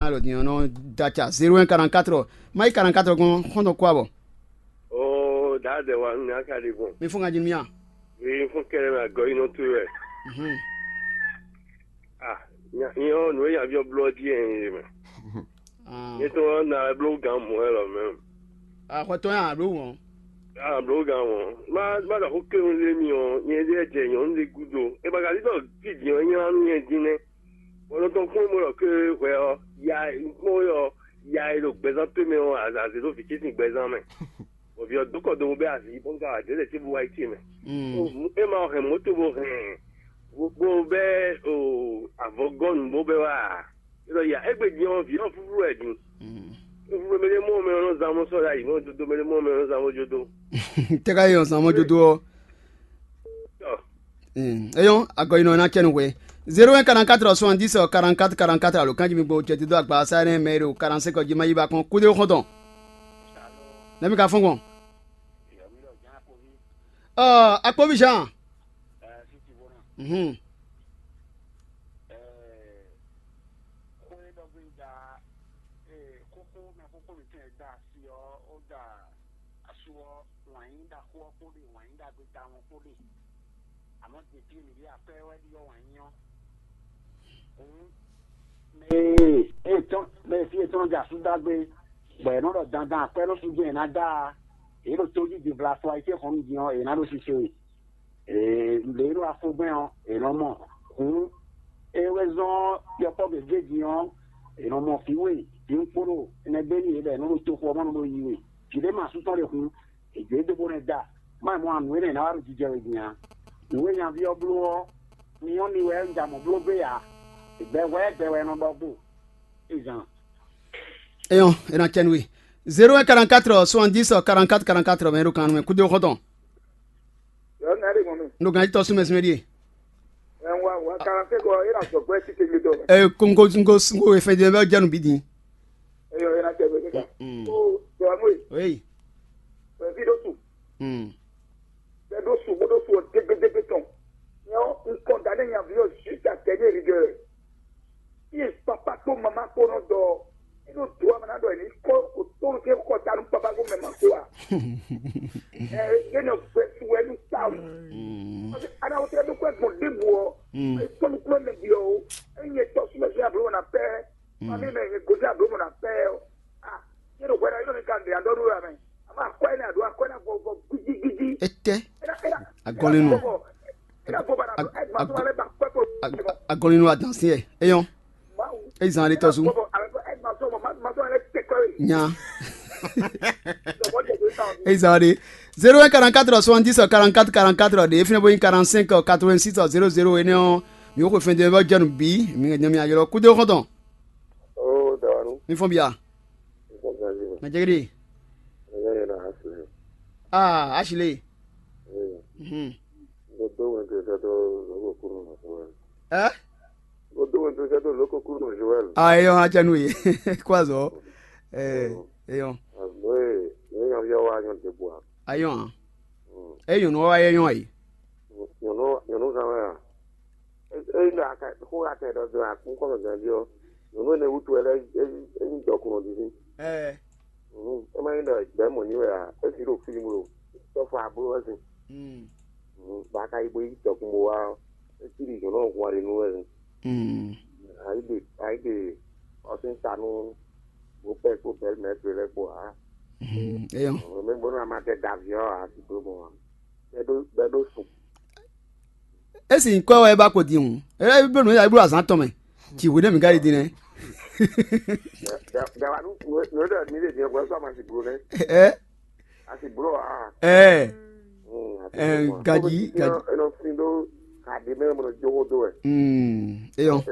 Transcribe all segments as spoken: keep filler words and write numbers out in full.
Alɔ din ɔ́ nɔ da ca zéro un quarante-quatre, mayi quarante-quatre gbɔn xɔ́ntɔn kó abɔ. Oo, dǎdɛ wa nú nya ka ɖe gbɔn. Mi fún ŋa jí nú mì a? Mi fún kɛnɛ mɛ agɔ yi nɔ to wɛ. Mhm. Ah, nya nyɔ nǔ e nyaví ɔ́ bló ɔ́ jí ɛ nyɛ mɛ. Ah. Nyɛ tɔn ɔ́ na wɛ bló gǎn mɔ̌ wɛ lɔ mɛ. Axɔtɔn ya bló wɔn. Ah, bló gǎn mɔ̌. Má má ɖɔ xó kéwun lé mi ɔ́, nyɛ ɖe jɛ nyɔ̌nu ɖé gúdo. E ma ka ɖi ɖɔ fí din ɔ́ nylá nú nyɛ dín nɛ́. Bɔ nɔ tɔn kpɔ́n mɔ ɖɔ ké hwɛ ɔ́, ya kpɔ́n ɔ́, ya e ɖo gbɛzán tó mɛ ɔ́, azǎn zé ɖó vǐ ce sín gbɛzán mɛ. Bɔ vǐ ɔ́ dó kɔ do bɔ bɛ́ azǐ bó ŋka wǎ dó lɛ tí bó wá yi ce mɛ. Mm. Bó mú é ma hɛn mɔ̌to bó hɛn bó bɛ́ avɔgɔ́nu bó bɛ́ wá. É ɖɔ ya égbé din ɔ́, vǐ ɔ́ fúfú wɛ din. Mm. Fúfú mɛ ɖé mɔ mɛ ɔ́ nɔ zán mɔ sɔ́ ɖ'ayǐ mɔ dodo mɛ ɖé mɔ mɛ ɔ́ nɔ zán mɔ jó dó. Tɛ́ ka yi ɔ́ zán mɔ jó dó ɔ́. Tɔ. Eyɔn, agɔyinɔ ná cɛ nú hwe. Zéro un quarante-quatre soixante-dix quarante-quatre quarante-quatre alo kanji mi gbo cɛ dídó agba sa ne mɛ ɖo quarante-cinq jí ma yi ba kɔn kúdé xɔntɔn. Nɛmi ka fɔn gbɔn. Ɔ, akpɔvi Jean. Mhm. Asu ɔ́, wǎn yí ɖaxó ɔ́ kpó ɖe, wǎn yí ɖagbe tawun ɔ́ kpó ɖe. Amɔ̌, ɖě fí e mǐ ɖe akwɛ́ wɛ ɖi ɔ́, wǎn yí ɔ́. Hǔn, mɛ e e tɔn mɛ e fí e tɔn jɛ asú dó agbe, bɔ è nɔ ɖɔ dandan akwɛ́ nɔ sú jɛ́n è nǎ dá a, yě ɖo tójí din vla afɔ ayǐtéhɔ̌nnu din ɔ́, è nǎ ɖo sise we. Ee, lě e ɖo afogbɛ́n ɔ́, è nɔ mɔ. Hǔn, é wɛ zɔ́n yɔkpɔ́ gěgé din ɔ́, è nɔ mɔ vǐ we, vǐ ɖokpónɔ, énɛ́ gbé n'i yě bɔ è nɔ ɖo toxo ɔ́ mɔ nɔ ɖo yi we. Vǐ ɖé ma sú tɔn ɖe hǔn, è jǒ e dó bó nɛ́ da. Má mɔ nǔ énɛ́ ná wá ɖo jijɛ wɛ din ǎ. Nǔ e nyaví ɔ́ bló ɔ́, mi ɔ́ mi wɛ un ja mɔ̌ bló gbé ǎ. Gbɛ hwɛ́ gbɛ wɛ è nɔ ɖɔ gbo. Izan. Eyɔn, e na cɛ nú we. Zéro un quarante-quatre soixante-dix quarante-quatre quarante-quatre mɛ ɖo kan mɛ kúdó xɔtɔn. Yɔ, nya ɖe gbɔn mi. N ɖo gan tɔ súnmɛ súnmɛ ɖíe. Ɛ wa wa kalan se kɔ e na sɔgbɛ ti te mi dɔ. Ɛ ko n ko n ko n ko efɛn jɛ bɛ jɛ nu bi din. Eyɔ, e na tɛ bɛ mi ka. Mm. O dɔnu e. Oyi. Ɛ vi ɖo su. Mm. Bɛ ɖo su bó ɖo su ɔ dégbédégbé tɔn. Nyɔ n kɔn da ne nyavi ɔ juste à dernière rigueur. Iye papa kpó mama kpó nɔ dɔ. Inú dùn àmọ́ náà dọ̀ ní kó òtún ké kọ́ ta nú papa kó mẹ́ma kó wa. Ẹ yé nɔ gbẹ tu wẹ nú sáwù. Ana wò tẹ dúpẹ́ gbọ̀n débù ọ. Kpɔnukplɔ mɛ bi ọ o. Eye tɔ súnmọ́ sí àbúrò mọ̀ nà pẹ́. Mami mɛ ye gòdì àbúrò mọ̀ nà pẹ́ ọ. Ah, yé nɔ gbẹdọ̀ yé nɔ ní ka ndè àdó nú wà mẹ́. Àmọ́ àkọ́ yé ní àdó àkọ́ yé ní àgọ́ gíjígíjí. Etɛ. Agɔlinu. Agɔlinu adansi yɛ. Eyɔn. Eyi zan ale tɔsu. Nya. Eyi zan ale. Zéro un quarante-quatre soixante-dix quarante-quatre quarante-quatre de, efinɛ bo yin quarante-cinq quatre-vingt-six zéro zéro ene ɔ. Mi ko fɛn de bɛ jɛnu bi mi ŋa jɛ mi ayɔlɔ kudo xɔntɔn. Oh, dawanu. Mi fɔn bia. Mɛ jɛgɛdi. Ah, Ashley. Mhm. Ɛ? Ayɔ atsɛnú ye. Kó azɔ. Ɛ, eyɔ. Ayɔ. Ɛ nyɔnu wa yɛ nyɔ yi. Nyɔnu nyɔnu kan wɛ a? Eyi ɖo aka xó aka ɖɔ dɔn akún kɔnɔ ganjí ɔ, nyɔnu ene wútu wɛ lɛ eyi dɔkun ɔ didi. Ɛ. Ɛ ma nyí ɖɔ gbɛ mɔ ní wɛ a? Esi ɖo fíìmù ɖo tɔfɔ abló wɛ sin. Ba ka yi bo yi dɔkun bo wá ɔ, esi ɖi nyɔnu ɔ hun aɖe nú wɛ sin. Ayi ɖe ayi ɖe ɔsin ta nú bo pɛ kpó bɛlí mɛ to lɛ kpó a. Eyɔ. Mɛ bónú a ma tɛ davi ɔ a ti dó mɔ a. Bɛ ɖó bɛ ɖó sùn. Esi nyikɔ wɛ ba ko din hǔn. Ɛ bɛ nǔ ya blo azán tɔn mɛ. Ci hwe ɖe mi ka yi din nɛ. Dawanu nǔ ɖe mi ɖe din hwɛ sɔ ma si blo nɛ. Ɛ. A si blo a. Ɛ. Ɛ gaji gaji. Ɛ nɔ fin ɖó ka ɖe mɛ mɔ jɔwɔ do wɛ. Mm. Eyɔ.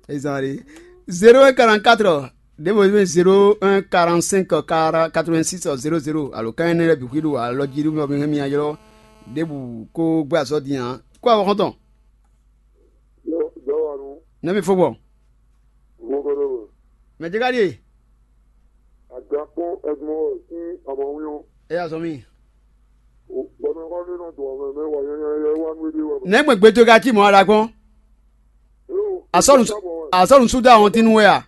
Ezan de. Zéro un quarante-quatre. Ɖěvo zéro un quarante-cinq quatre-vingt-six zéro zéro alo kan énɛ́ lɛ́ɛ bǐ xwíɖu alɔ jí ɖú mɛ mi hɛn mi ayɔ́ ɖěbǔ kó gbé azɔ̌ din ǎ. Kó awɔ xɔ́ntɔn. Jɔwɔnu. Nɛ́ mi fó gbɔ? Mɔgɔdɔ. Mɛ jɛ ka ɖíe? Agakpɔn Edmond sín amɔwín. Ɛ yà zɔ mi. Gbɔmɛxɔ ní nɔ dɔn mɛ mɛ wà nyanya yɛ wà nú éɖé wà. Nɛ́ gbɛn gbɛtɔ́ ka cí mɔ̌ aɖagbɔn? Asɔ́nu asɔ́nu súdó àwọn tínú wɛ à?